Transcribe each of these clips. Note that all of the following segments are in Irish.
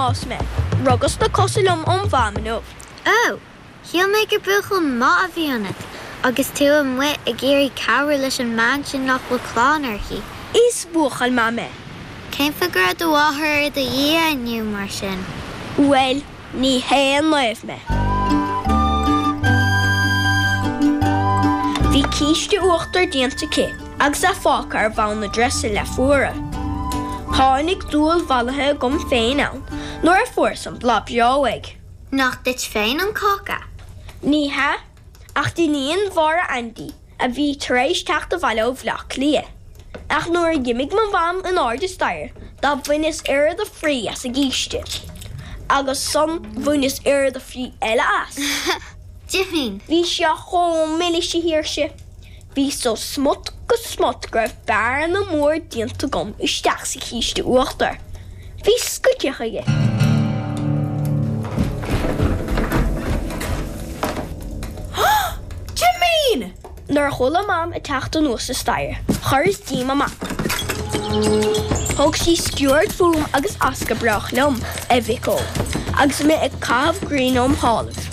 d'fhás mé. Rugas na cosa liom óm mham inniu. Ó! Shíl mé gur buachaill maith a bhí ionat agus tú amuigh ag iarraidh cabhrú leis an mbean sin nach bhfuil clann uirthi. Is buachaill maith mé. Cén fáth go raibh do mháthair ar do dhiaidh inniu, mar sin? Bhuel, ní haon naomh mé. Bhí císte uachtair déanta aici agus é fágtha ar bhonn na drese le fuaradh. Tháinig dúil mhallaithe agam féin ann nuair a fuaireas an blas breá uaidh. Nach duit féin an cáca? Ní hea, ach d'iníon Mháire Aindí, a bhí tar éis teacht abhaile ó Bhleá Cliath. Ach nuair a dh'imigh mo mham in airde staighre do bhaineas oiread a fraoigh as an gcíste. Agus ansan bhaineas oiread a fraoigh eile as. Jimín! Bhí sé chomh milis, a Shaoirse. Bhí sé ó smut go smut go raibh bearna mór déanta agam isteach sa chíste uachtair. Bhí scoiteach aige. Jimín! Nuair a chuala Mam ag teacht anuas an staighre, chuireas díom amach. Thug sí sciuird fúm agus as go brách liom, a mhic ó, agus mé ag caitheamh gréine óm shálaibh.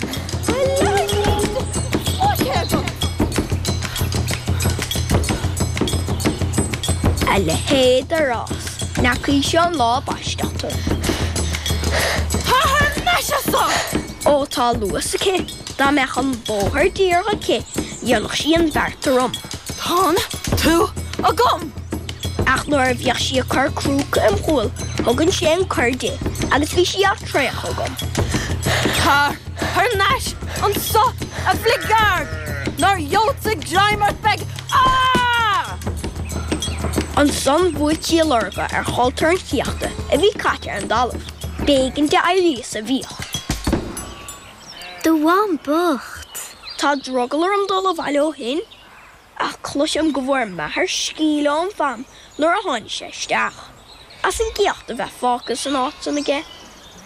A leithéid de rás, nach í seo an lá a baisteadh tú. Tar thar n-ais anso! Ó tá luas aici, dá mbeadh an bóthar díreach aici, dhéanfadh sí an bheart orm. Tánn tú agam! Ach nuair a bhíodh sí ag cur crúca im chúl, thugainnse an cor di, agus bhí sí á traochadh agam. Tar thar n-ais anso, a bhligeaird, nár gheobhadsa greim ort beidh Á! Ansan bhuailtí a lorga ar chultúr an chéachta a bhí caite ar an dtalamh. B'éigean di éirí as a bhfiach. Do mham bocht! Tá drogall orm dul abhaile ó shin. Ach cloisim go bhfuair m'athair sceimhle óm mham nuair a tháinig sé isteach, as an gcéacht a bheith fágtha san áit san aige.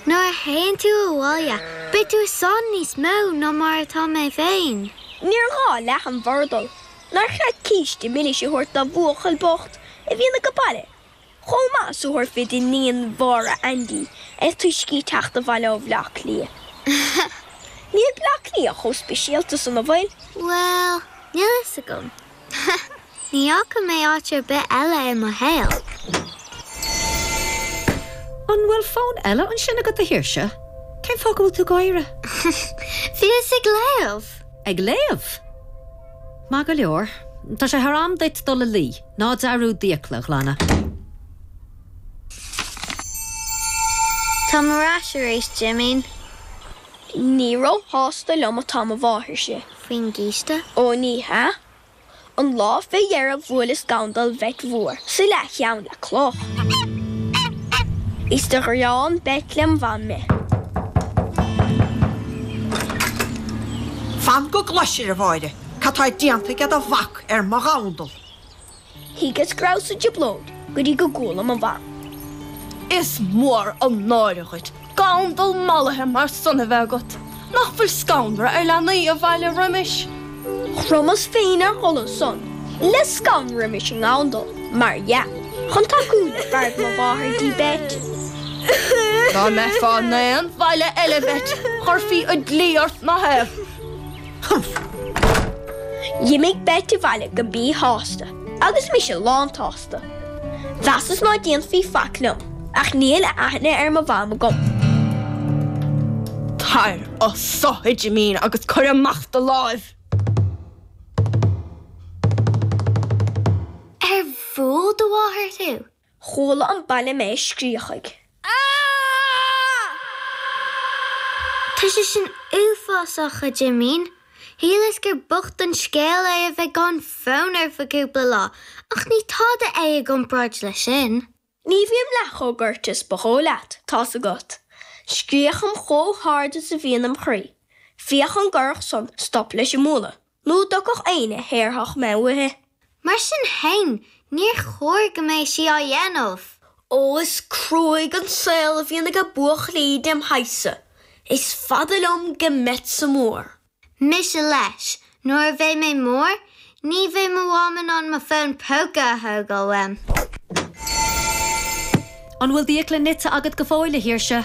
Nuair a théann tú abhaile, beidh tú i sáinn níos mó ná mar atá mé féin. Níor ghá leath an bhurdail. Nár cheart císte milis a thabhairt do bhuachaill bocht a bhíonn age baile Chomh maith is a thabharfaí d'iníon Mháire Aindí is túisce í teacht abhaile ó Bhleá Cliath. Níl Bleá Cliath chomh speisialta san, an bhfuil? Bhuel, níl fhios agam. Ní fhaca mé áit ar bith eile i mo shaol. An bhfuil fón eile ansin agat, a Shaoirse? Cén fáth go bhfuil tú ag gáire? Bhíos ag léamh! Ag léamh? Maith go leor. Tá sé thar am duit dul a luí. Ná dearúd d'fhiacla a ghlanadh. Táim ar ais arís, Jimín. Ní ró-shásta liom atá mo mháthairse. Faoin gcíste? Ó ní hea. An lá fé dheireadh bhuaileas gandal Bheit Mhór sa leathcheann le cloch. Is do ghreán Beit lem mham mé. Fan go gcloisir, a Mháire, cad tá déanta aige do mhac ar mo ghandal. Thuigeas go rabhas i dtrioblóid go dtí go gcuala mo mham. Is mór an náire dhuit gandal mallaithe mar san a bheith agat. Nach bhfuil scanradh ar leanaí an bhaile roimis? Chromas féin ar dhul ansan le scanradh roimis an ngandal, mar dhea, chun tacú le fearg mo mháthar dtí Beit. Dá mbeifeá in aon bhaile eile, Beit, chuirfí an dlí ort nach ea? Humph! D'imigh Beit abhaile go míshásta, agus mise lántsásta. Mheasas ná déanfaí faic liom, ach níl aithne ar mo mham agam. Tar anso, a Jimín, agus cuir amach do láimh! Ar bhuail do mháthair thú? Chuala an baile mé ag scríochaigh. Tá sé sin uafásach, a Jimín. Shíleas gur bocht an scéal é a bheith gan fón ar feadh cúpla lá, ach ní tada é i gcomparáid leis sin. Ní bhím leath chomh goirte is ba dhóigh leat, tá's agat. Scríochaim chomh hard is a bhíonn im chroí. Féach an gcuirfeadh san stop leis an mbualadh. Nó an dtiocfadh éinne a shaorfadh mé uaithi. Mar sin fhéin, níor chóir go mbeadh sí á dhéanamh. Ó, is cruaidh an saol a bhíonn aige buachaillí dem shaghas-sa. Is fada liom go mbeadsa mór. Mise leis, nuair a bheidh mé mór, ní bheidh mo mham in ann mo fón póca a thógáil uaim. An bhfuil d'fhiacla nite agat go fóill, a Shaoirse?